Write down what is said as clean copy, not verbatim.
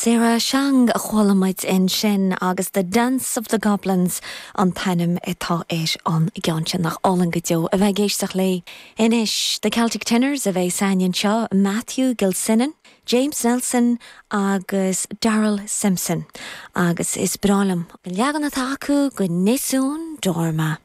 Sarah Shang a chuala muid ansin agus The Dance of the Goblins an t-ainm atá ar an gceann sin. Nach álainn go deo a bheith ag éisteacht léi. Anois, The Celtic Tenors a bheidh ag seinm anseo, Matthew Gilsenan, James Nelson agus Darrell Simpson. Agus is breá liom an leagan atá acu de Nessun Dorma.